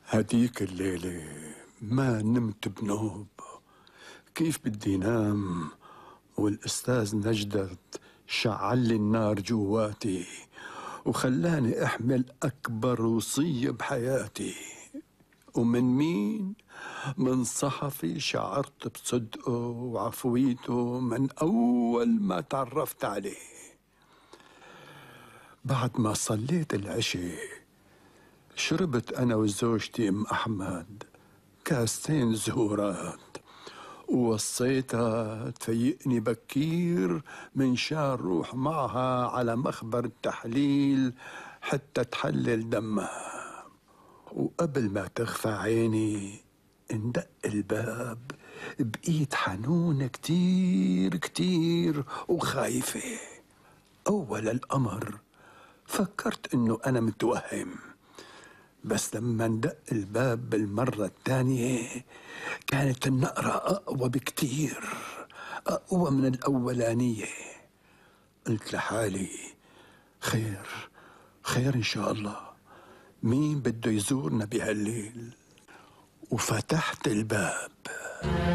هديك الليلة ما نمت بنوب. كيف بدي نام والأستاذ نجدت شعلي النار جواتي وخلاني أحمل أكبر وصية بحياتي. ومن مين؟ من صحفي شعرت بصدقه وعفويته من أول ما تعرفت عليه. بعد ما صليت العشاء شربت أنا وزوجتي أم أحمد كاستين زهورات ووصيتها تفيقني بكير من شان روح معها على مخبر التحليل حتى تحلل دمها. وقبل ما تخفى عيني اندق الباب بقيت حنونة كتير كتير وخايفة. أول الأمر فكرت إنه أنا متوهم، بس لما اندق الباب بالمرة الثانية كانت النقرة أقوى بكتير، أقوى من الأولانية. قلت لحالي خير خير إن شاء الله، مين بده يزورنا بهالليل؟ وفتحت الباب.